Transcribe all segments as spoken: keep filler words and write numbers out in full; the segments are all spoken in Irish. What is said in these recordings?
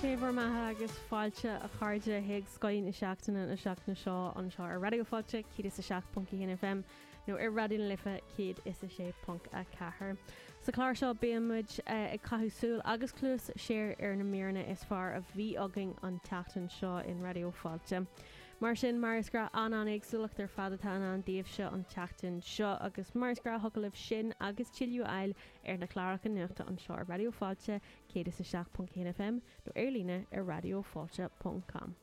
Sé bhur mbeatha agus fáilte a chairde chuig Scoth na Seachtaine na seachtaine seo anseo ar Raidió Fáilte céad is a seacht ponc a haon FM nó ar Raidió na Life céad is a sé ponc a ceathair. Sa chlár seo bímid ag caitheamh súil agus cluas siar ar na míreanna is fearr a bhí againn an tseachtain seo in Raidió Fáilte. Mar sin mar is gnách an an-éagsúlacht ar fad atá ann daoibhse an tseachtain seo agus mar is gnách thig libh sin agus tuilleadh a fháil ar na cláracha nuachta anseo ar Raidió Fáilte céad is a seacht ponc haon FM nó ar líne ar raidiofáilte.com.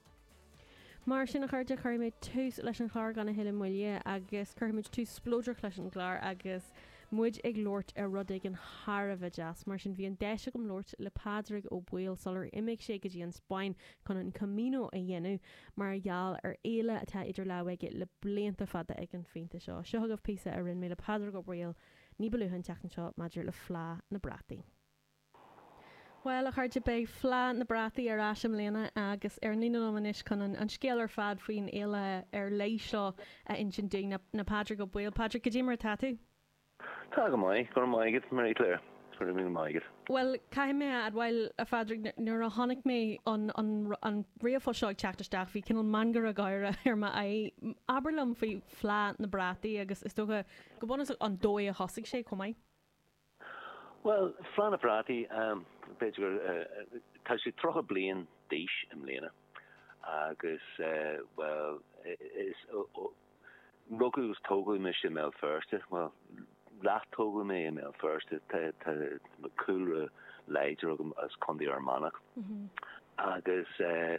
Mar sin a chairde cuirfimid tús leis an chlár gan a thuilleadh moille agus cuirfimid tús spleodrach leis an gclár agus muid ag labhairt ar rud éigin thar a bheith deas, mar sin bhí an deis agam labhairt le Pádraig Ó Baoill sular imigh sé go dtí an Spáinn chun an Camino a dhéanamh mar gheall ar fhéile atá idir lámha aige le blianta fada ag an phointe seo. Seo agaibh píosa a rinne mé le Pádraig Ó Baoill ní ba luaithe an tseachtain seo maidir le Fleadh na Brataí. Well a chairde beidh Fleadh na Brataí ar ais i mbliana agus ar an líne liom anois chun an, an scéal ar fad faoin fhéile ar leith seo a insint dúinn ná Pádraig Ó Baoill. Pádraig, cad é mar atá tú? Tá go maith go raibh maith agat Marie Claire go raibh maith agat. Well caithfidh mé a admháil a Phádraig nuair a chonaic mé an, an, an ríomhphost seo ag teacht isteach bhí cineál meangadh gáire ar m'aghaidh. Abair liom faoi Fleadh na Brataí agus is dócha go bunúsach an dóigh a thosaigh sé chomh maith. Well Fleadh na Brataí um, b'fhéidir uh, tá sé tríocha bliain d'aois i mbliana agus uh, well is rugadh agus tógadh mise i mBéal Feirste, well leath-tógadh mé i mBéal Feirste tá cúlra láidir agam as Contae Fhear Manach. Mm -hmm. agus uh,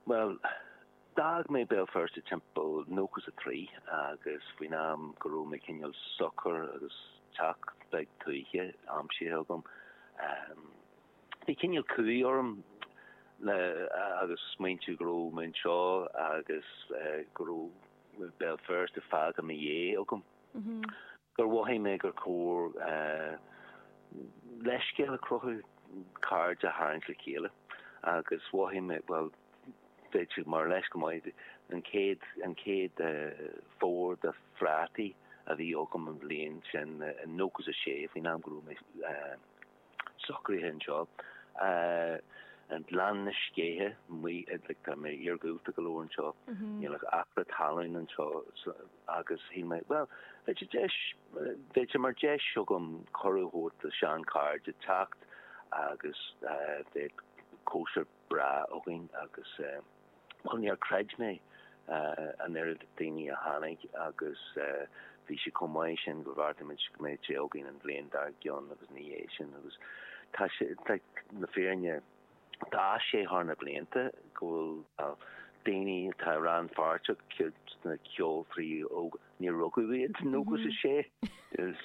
well d'fhág mé Béal Feirste timpeall nócha a trí agus faoin am go raibh mé cineál socair agus teach beag tuaithe aimsithe agam. Um, bhí cineál cumha orm le agus smaointiú go raibh mé anseo agus uh, go raibh Béal Feirste fágtha i mo dhiaidh agam. Mm -hmm. Gur mhothaigh mé gur chóir uh, leithscéal a chruthú cairde a tharraingt le chéile agus mhothaigh mé well b'fhéidir mar leis go maith an chéad an chéad uh, fómhar de phrátaí a bhí agam an bhliain sin uh, nócha a sé faoin am go raibh mé uh, socraithe anseo. Uh, an Gleann na Scéithe like, tá mé iargúlta go leor anseo níl ach acra talún anseo agus shíl mé well bheadh deis bheadh mar deis agam cuireadh a thabhairt do sheanchairde teacht agus uh, bheadh cóisir breá againn agus uh, well níor chreid mé uh, an oiread daoine a tháinig agus uh, bhí sé chomh maith sin go bhfeartaimid go mbeidh sé againn an bhliain dár gcionn agus ní é sin agus tá sé na fírinne Tá sé thar na blianta go bhfuil daoine atá rannpháirteach sna ceoltóirí óga ní rugadh iad nócha a sé is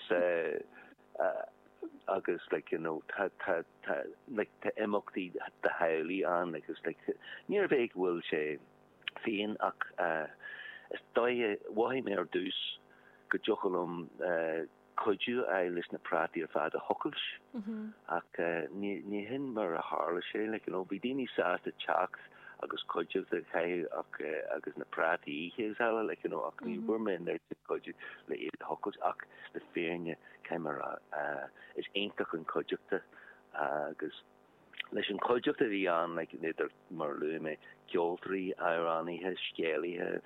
agus like you know tá tá tá like tá imeachtaí do theaghlaigh ann agus like níorbh é go bhfuil sé féin ach uh, is dóigh mhothaigh mé ar dtús go dtiocfadh liom uh, cuidiú a leis na prátaí ar fad a thochailt ach uh, ní ní hin mar a tharla sé like, you know, bhí daoine sásta teacht agus cuidiú de chaitheamh ach uh, agus na prátaí oíche eile like, you know, ach ní bhfuair mé an cuidiú le iad a thochailt ach le fírinne mar uh, is iontach an cuideachta agus leis an cuideachta bhí ann like, idir mar luaigh mé ceoltóirí, amhránaithe, scéalaithe,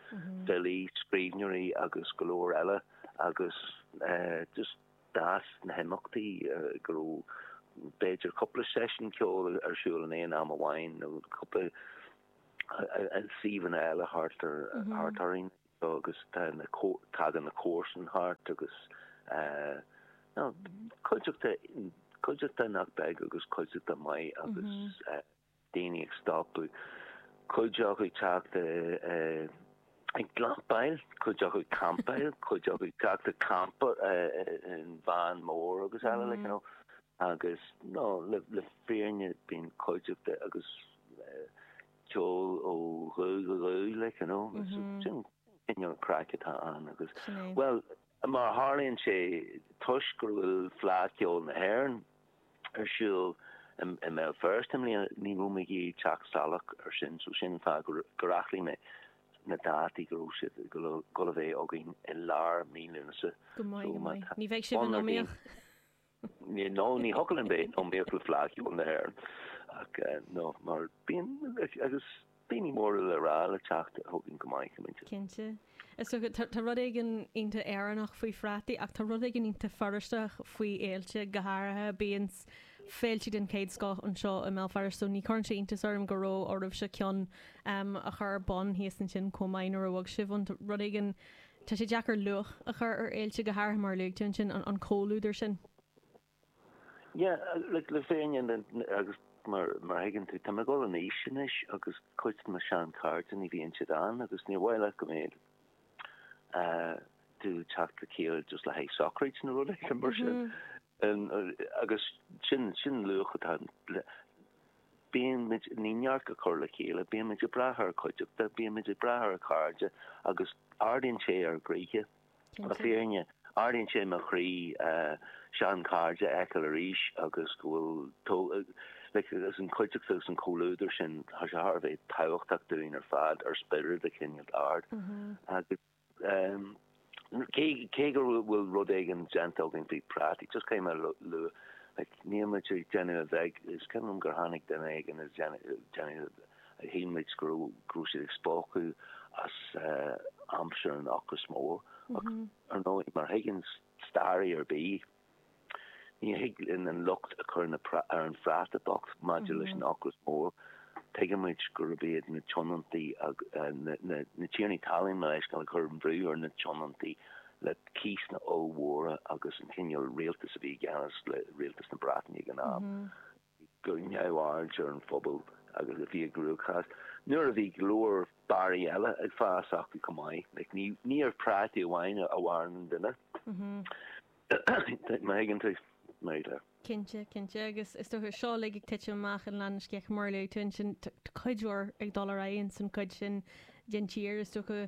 filí, scríbhneoirí agus go leor eile agus uh, just d'fhás na himeachtaí uh, go raibh b'fhéidir cúpla seisiún ceoil ar siúl in aon am amháin nó cúpla suíomhanna eile thart ar thart orainn agus tá na tagann na comharsana thart agus uh, no, cuideachta cuideachta nach beag agus cuideachta maith agus uh, daoine ag stopadh cuid acu teacht uh, ag glampáil, cuid acu campáil, cuid acu teacht ag campa in van mór agus eile like, you know, agus no le le fírinne bíonn cuideachta agus uh, ceol ó ghuth go guth like, you know, sin sin an craic atá ann agus well mar tharlaíonn sé toisc go bhfuil Fleadh Cheoil na hÉireann ar siúl i mBéal Feirste i mbliana ní raibh mé ag teacht salach ar sin so sin fáth gur gur athraigh mé na dátaí go raibh siad go go a bheith againn i lár mí Lúnasa. Go maith go maith. Ní bheidh sibh in iomaíocht. Ní no ní thiocfadh linn bheith iomaíoch le Fleadh Cheoil na hÉireann ach no mar bíonn agus daoine móra le rá le teacht chugainn go maith go minic. Cinnte. Is dócha tá rud éigin iontach Éireannach faoi phrátaí ach tá rud éigin iontach Feirsteach faoi fhéilte go háirithe bíonn féilte den chéad scoth anseo i mBéal Feirste so ní chuireann sé iontas orm go raibh oraibhse ceann um, a chur ar bun thíos ansin chomh maith nuair a bhog sibh an rud éigin tá sé deacair luach a chur ar fhéilte go háirithe mar luaigh tú ansin an, an comhluadar sin. Yeah, le le fírinne agus mar mar thuigeann tú tá mé ag dul in aois anois agus cuid de mo sheanchairde ní bhíonn siad ann agus níor mhaith leat go mbeadh tú teacht le chéile just le haghaidh sochraid nó rud éigin mar sin. Agus sin sin luach atá bíonn muid ní neart a chur le chéile, bíonn muid ag brath ar chuideachta, bíonn muid ag brath ar chairde agus ardaíonn sé ár gcroíthe. Le fírinne ardaíonn sé mo chroí seanchairde a fheiceáil arís agus go bhfuil like agus an chuideachta agus an comhluadar sin tá sé thar a bheith tábhachtach dúinn ar fad ar spiorad a choinneáil ard. Agus um, cé cé go bhfuil rud éigin déanta againn faoi prátaí, just cé mar lu like níl muid ag déanamh a bheag is cuimhin liom gur tháinig duine éigin ag déanamh a shíl muid go raibh go raibh siad ag spochadh as uh, aimsir an ocras mór ach ar ndóigh mar thuigeann staraí ar bith ní thig linn an locht a chur na ar an phráta bocht maidir leis an ocras mór. Tuigeann muid gurb iad na tionóntaí na, na, na tiarnaí talún mar leis gan chur an brú ar na tionóntaí le cíosanna ollmhóra agus an cineál rialtas a bhí i gceannas le rialtas na Breataine ag an am. Go neamhaird ar an phobal agus a bhí i gcruachás. Nuair a bhí go leor barraí eile ag fás acu chomh maith, like, ní, ní ar prátaí amháin a mhaireann an duine. Má thuigeann tú, Mary Claire. Cinnte, cinnte agus is dócha seo uilig ag titim amach in Leath na Sceiche mar luaigh tú ansin cuid mhór ag dul ar aghaidh san cuid sin den tír is dócha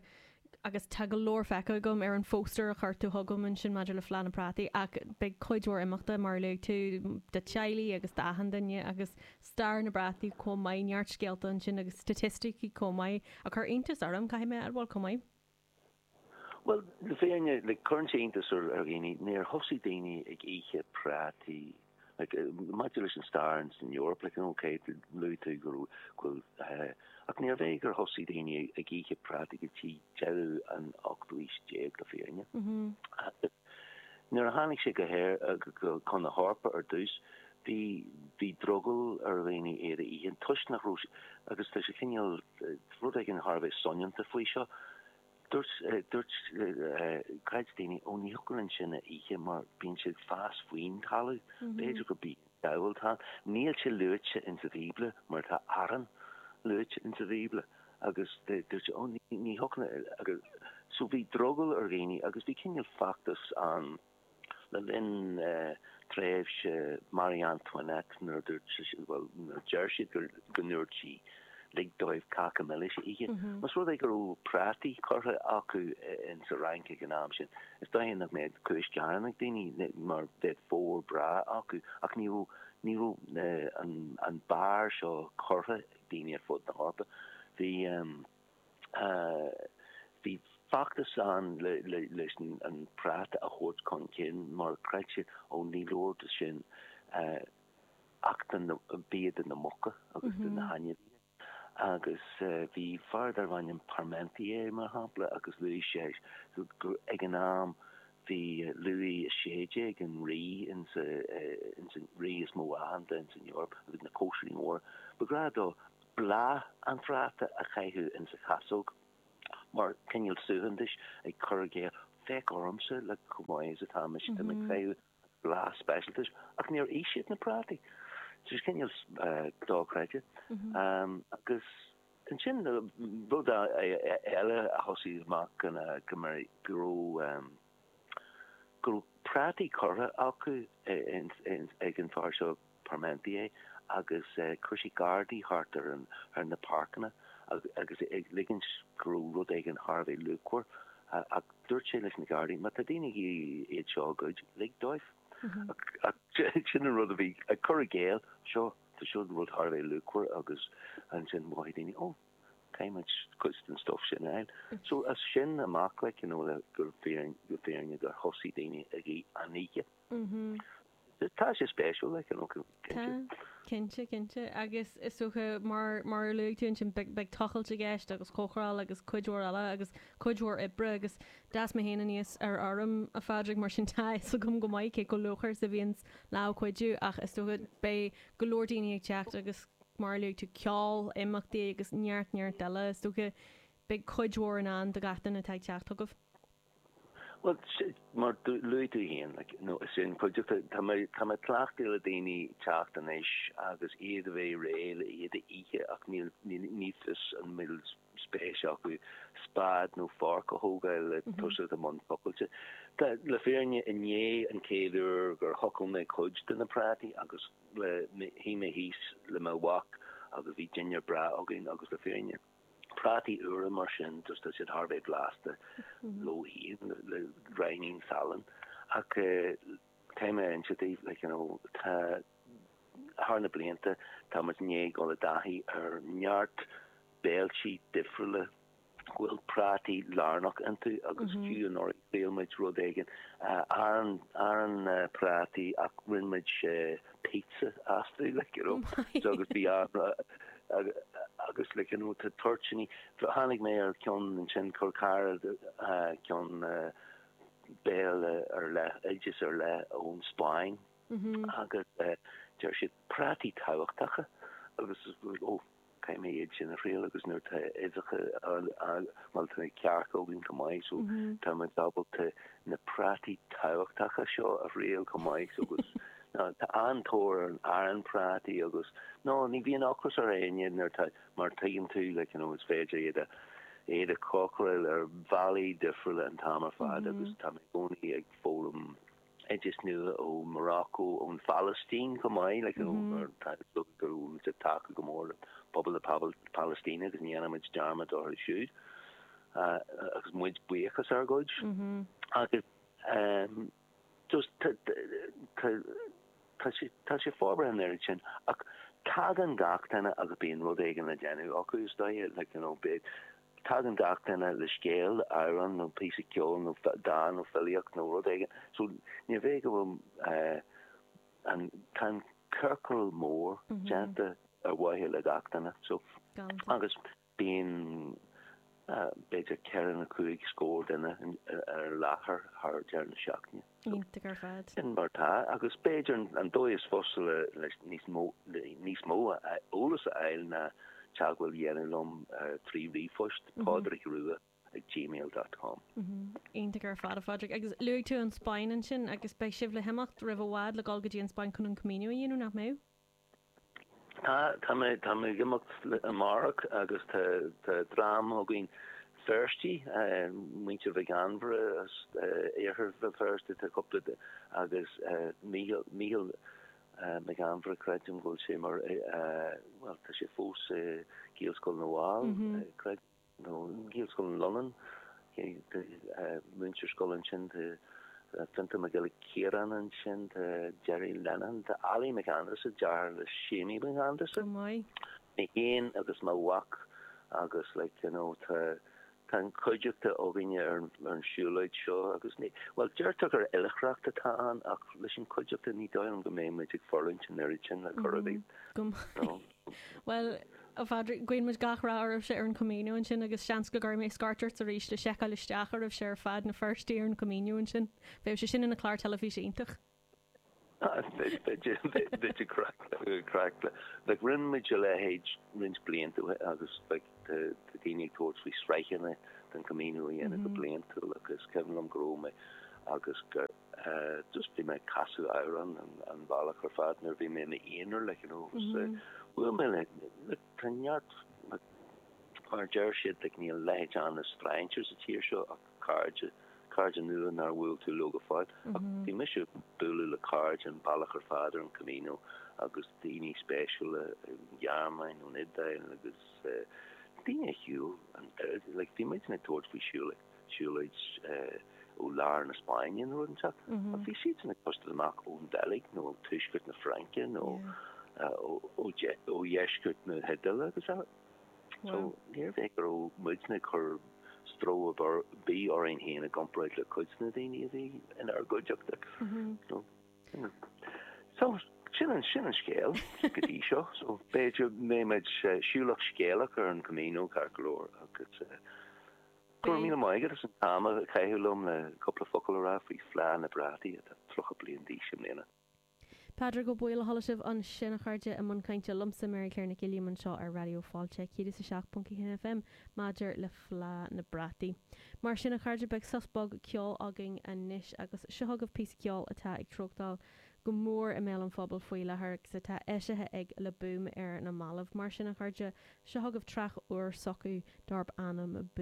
agus tá go leor feicthe agam ar an phóstaer a chuir tú chugam ansin maidir le Fleadh na Prátaí ach beidh cuid mhór imeachta mar luaigh tú do teaghlaigh agus d'achan duine agus stair na bprátaí chomh maith neart scéalta ansin agus staitisticí chomh maith a chuir iontas orm caithfidh mé a admháil chomh maith. Well, le fírinne le cuireann sé iontas ar ar dhaoine níor thosaigh daoine ag ithe prátaí like, maidir leis an stair san Eoraip like, okay, luaigh tú go bhfuil ach níorbh é gur thosaigh daoine ag ithe prátaí go dtí deireadh an ochtú haois déag le fírinne. Nuair a tháinig sé go héir go chun na hEorpa ar dtús, bhí bhí drogall ar dhaoine iad a ithe toisc nach raibh agus tá sé cineál rud éigin thar a bheith soineanta faoi seo. Dúirt dúirt creid daoine ó ní thiocfadh linn sin a ithe mar bíonn sé ag fás faoin talamh, b'fhéidir gur bia an diabhail atá ann. Níl sé luaite in sa Bhíobla mar tá arán luaite in sa Bhíobla agus dúirt sé ó ní ní thiocfadh agus so bhí drogall ar dhaoine agus bhí cineál feachtas ann le linn tréimhse Marie Antoinette nuair dúirt sé well nuair deir siad gur go ndúirt sí lig dóibh cáca milis a ithe. Más rud é go raibh prátaí curtha acu in sa Fhrainc ag an am sin, is dóigh nach mbeadh cúis gearáin ag daoine mar bheadh fómhar breá acu ach ní raibh ní raibh an an barr seo curtha ag daoine ar fud na hEorpa. Bhí um, uh, bhí feachtas ann le, le, leis an, an práta a thabhairt chun cinn mar chreid siad ó ní leor de sin uh, ach den bia de na muca agus de na hainmhithe. Agus uh, bhí fear darbh ainm Parmentier mar shampla agus luaigh sé gur ag an am bhí Louis a sé déag an rí in sa uh, in san rí is mó aitheanta in san Eoraip agus na cóisirí móra. Ba ghnách dó bláth an phráta a chaitheamh in sa chasóg mar cineál suaitheantais ag cur i gcéill féach ormsa le chomh maith is atá mise mm -hmm. ag caitheamh bláth speisialta ach níor ith siad na prátaí. So cineál uh, dochreidte. Mm -hmm. um, agus ansin rud eile a thosaigh amach go go mar go raibh um, go raibh prátaí curtha acu ag an fear seo Parmentier agus uh, chuir sé gardaí thart ar an ar na páirceanna agus ag ligint go raibh rud éigin thar a bheith luachmhar ach dúirt sé leis na gardaí, má tá daoine iad seo a ghoid lig dóibh. Sin an rud a bhí ag cur i gcéill seo tá seo rud thar a bheith luachmhar agus ansin mhothaigh daoine ó caithfidh cuid den stuff sin a fháil. So as sin amach like, you know, le gur fírinne gur fírinne gur thosaigh daoine ag an ithe. Tá sé spéisiúil like, you know, cinnte. Cinnte cinnte agus is dócha mar mar a luaigh tú ansin beidh tochailt i gceist agus cócaráil agus cuid mhór eile agus cuid mhór oibre agus d'fhás mé féin aníos ar fheirm a Phádraig mar sin tá a fhios agam go maith cé chomh luachmhar is a bhíonn lámh cuidiú ach is dócha beidh go leor daoine ag teacht agus mar a luaigh tú ceol, imeachtaí agus neart neart eile is dócha beidh cuid mhór in ann do gach duine atá ag teacht chugaibh. Well mar luaigh tú féin like, no, is sin cuideachta tá mé tá mé cleachtaithe le daoine teacht anois agus iad a bheith réidh le iad a ithe ach níl ní ní fios an bhfuil spéis acu spad nó fork a thógáil le tosú i mbun tochailte. Tá le fírinne inné an chéad uair gur thochail mé cuid de na prátaí agus le shuigh mé thíos le mo mhac agus bhí dinnéar breá againn agus le fírinne. Prátaí úra mar sin just tá siad thar bheith blasta leo féin le gráinnín salainn ach tá mé inse daoibh like you know tá thar na blianta tá muid i ndiaidh dul i dtaithí ar neart béiltí difriúla go bhfuil prátaí lárnach iontu agus fiú anuraidh thriail muid rud éigin arán arán prátaí ach rinne muid pizza astu like you know so agus bhí agus like you know tá toirtíní tháinig mé ar ceann ansin chuir cara ceann béile ar leith oideas ar leith ón Spáinn agus deir siad prátaí tábhachtacha agus ó caithfidh mé iad sin a thriail agus nuair tá uibheacha bhuel tá cearca againn chomh maith so tá muid ábalta na prátaí tábhachtacha seo a thriail chomh maith so agus tá an-tóir ar an arán prátaí agus no ní bhíonn ocras ar éinne nuair tá mar tuigeann tú like you know is féidir iad a iad a chócaráil ar bhealaí difriúla an t-am ar fad agus tá mé i gcónaí ag foghlaim oideas nua ó Morocco ón Phalaistín chomh maith like you know mar tá go bhfuil muid ag tacú go mór le pobal na Palaistíne agus ní dhéanaimid dearmad orthu siúd agus muid buíochas ár gcuid agus um, just tá sé tá sé forbartha an oiread sin ach tagann gach duine agus bíonn rud éigin le déanamh acu is dóigh like you know beidh tagann gach duine le scéal amhrán nó píosa ceoil nó dán nó filíocht nó rud éigin so ní bheidh go bhfuil uh, an tá an ciorcal mór déanta ar mhaithe le gach duine so agus bíonn b'fhéidir ceithre nó cúig scór duine ar láthair thar deireadh na seachtaine. Iontach ar fad. Sin mar atá agus b'fhéidir an dóigh is fusa le níos mó níos mó eolas a fháil ná teagmháil a dhéanamh liom trí ríomhphost Pádraig Rua ag gmail dot com. Iontach ar fad a Phádraig. Agus luaigh tú an Spáinn ansin agus beidh sibh le himeacht roimh i bhfad le dul go dtí an Spáinn chun an Camino a dhéanamh, nach mbeidh? Tá, tá mé, tá mé ag imeacht amárach agus tá, tá dream againn Feirstigh, muintir Mhic Ainmhire as iarthar Bhéal Feirste, tá cúpla de, agus Mícheál, Mícheál Mac Ainmhire, creidim go bhfuil sé mar, bhuel, tá sé fós i Gaelscoil na bhFál, creidim. nó Gaelscoil na Lunán, múinteoir scoile ansin, tá Fiontar Mac Giolla Chiaráin ansin, tá Gerry Lennon, tá Ali Mac Aindreasa, deartháir le Séimí Mac Aindreasa, mé féin agus mo mhac agus like you know tá tá an chuideachta againne ar an siúlóid seo agus ní, bhuel deirtear gur oilithreacht atá ann ach leis an chuideachta ní dóigh liom go mbeidh muid ag fulaingt an oiread sin le cor ar bith. Go maith. Bhuel, A Phádraig, guíonn muid gach rath oraibhse ar an Camino ansin agus seans go gcuirfidh mé scairt ort arís le seiceáil isteach oraibhse ar fad na Feirstigh ar an Camino ansin. Bheadh sé sin ina chlár teilifíse iontach. B'fhéidir craic le. Like rinne muid a leithéid roinnt blianta ó shin agus like tá daoine ag tabhairt faoi sraitheanna den Camino a dhéanamh go bliantúil agus is cuimhin liom go raibh mé agus gur just bhí mé ag casadh amhrán an bealach ar fad nuair a bhí mé i m'aonar like you know agus bhuail mé le like tá neart like mar a deir siad like níl a leithéid ann de strainséir sa tír seo ach cairde cairde nua nár bhuail tú leo go fóill ach bhí mise ag bualadh le cairde an bealach ar fad ar an Camino agus daoine spéisiúla ón Ghearmáin ón Iodáil agus daoine a shiúil an oiread like bhí muidne ag tabhairt faoi siúlóid siúlóid ó lár na Spáinne nó rud inteacht. Ach bhí siadsan ag tosú amach ón Bheilg nó ó tuaisceart na Fraince nó ó dheisceart na hIodáile agus eile. So níorbh é go raibh muidne ag cur stró ar bith orainn féin i gcomparáid le cuid de na daoine a bhí inár gcuideachta. So, you know. So sin an sin an scéal go dtí seo, so b'fhéidir mbeimid eh, siúlach scéalach ar an Camino ceart go leor agus eh, Go raibh míle maith agat as an t-am a chaitheamh liom le cúpla focal a rá faoi Fleá na bPrátaí atá tríocha bliain d'aois i mbliana. Pádraig Ó Baoill a chuala sibh ansin a chairde i mbun cainte liomsa Mary Claire Nic Uilliam anseo ar Raidió Fáilte céad is a seacht ponc a haon FM maidir le Fleá na bPrátaí. Mar sin a chairde beidh sos beag ceoil againn anois agus seo chugaibh píosa ceoil atá ag treochtáil go mór i mbéal an phobail faoi láthair agus atá eisithe ag Le Boom ar na mallaibh mar sin a chairde seo chugaibh traic úr s'acu darb ainm